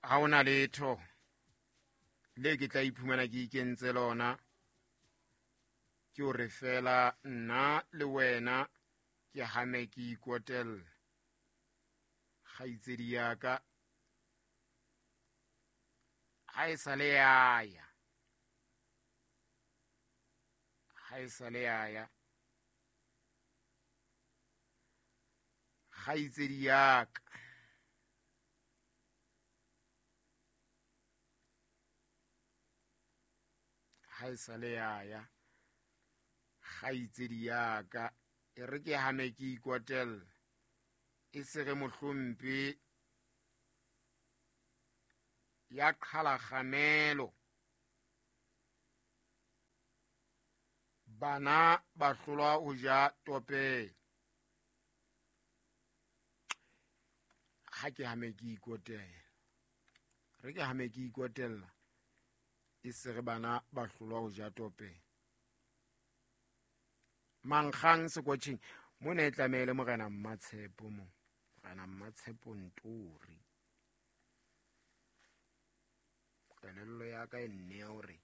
Ha ona letho le ke tla iphumana ke ikentse lona, ke hore fela nna le wena ke hame ke ikotella. Kgaitsedi ya ka ha e sa le yaya, ha e sa le yaya, kgaitsedi ya ka ha e sa le yaya, kgaitsedi ya ka e re ke hame ke ikotella, e se re mohlompe ya qhala kgamelo, bana ba hlolwa ho ja topela. Ha ke hame ke ikotela, re ke hame ke ikotella, e se re bana ba hlolwa ho ja topela. Mankgang sekotjheng mona e tlamehile Morena Mmatshepo mo, Morena Mmatshepo Ntori. Kelello ya ka e nne hore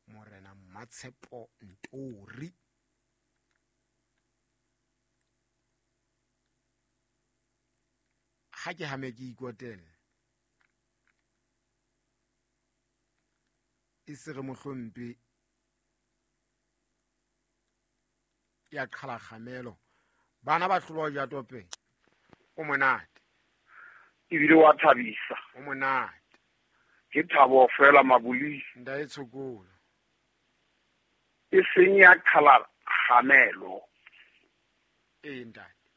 Morena Mmatshepo Ntori. Ha ke hame ke ikotela, e se re mohlompe ya qhala kgamelo, bana ba hlolwa ja tope. O monate ebile wa thabisa, o monate. Ke thabo fela mabuli nda e tshokolo e seng ya qhala kgamelo, e ntate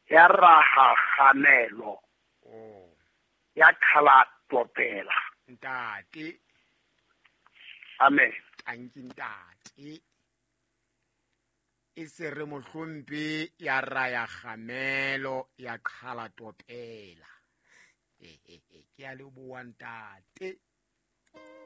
ya raha kgamelo, oh ya qhala topela ntate. Amen. Tanki ntate. E se re mohlompe ya raya kgamelo ya qhala topela. Ke a leboha ntate.